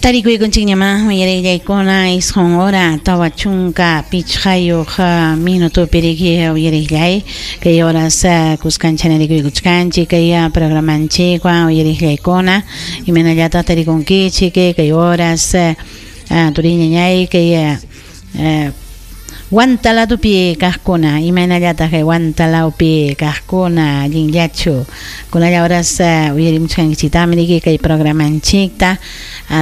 Tarikuykunchikñamá uyariqllaykuna 9 hora 45 minutopi riki uyariqllay kay horas kuskanchana rikuykuchkanchik kay programanchikwan uyariqllaykuna imaynallataq tarikunkichik kay horas turiñañay kay Huantaladupi kaqkuna imaynallataq kay Huantalawpi kaqkuna allinllachu kunalla horas uyarimuchkankichiktaqmi riki kay programanchikta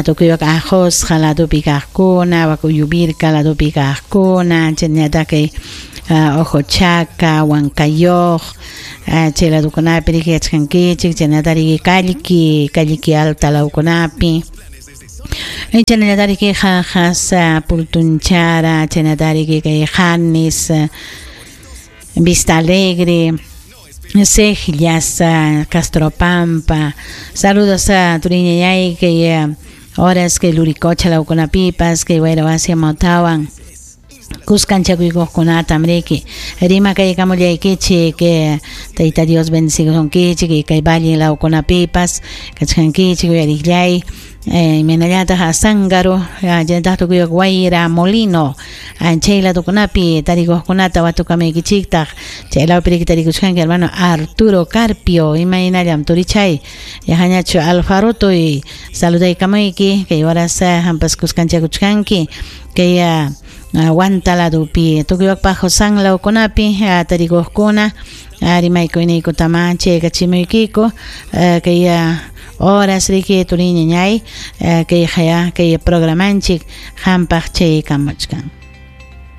tukuywak Ajosqa ladupi kaqkuna wak Uyuvirka ladupi kaqkuna chaynallataq kay Ojochaca Huancayoq chay ladukunapi riki yachkankichik chaynallataq riki Kallki Kallki alta lawkunapi. Chaynallataq Jaqas, Pultunchara, chaynallataq kay Janes, Vista Alegre, Sejllas, Castropampa. Saludos a turiñañay kay horas kay Luricocha lawkunapipas kay Wayrawasi Motawan. Kuskanchakuykuqkunatam riki rimakaykamullaykichik Tayta Dios bendecisunkichik kay valle lawkunapipas kachkankichik uyariqllay imaynallataq Azángaro chaynataq tukuy Guaira Molino chay ladukunapi tarikuqkunata watukamaykichiktaq chay lawpi riki tarikuchkanki hermano Arturo Carpio imaynallam turichay yahañachu Alfarotoy saludaykamayki kay horas hampas kuskanchakuchkanki kay Huanta ladupi tukuywakpaq San lawkunapi tarikuqkuna rimaykuyniykutama chaykachimuykiku kay horas riki turiñañay kay haya kay programanchik hampaq chaykamuchkan.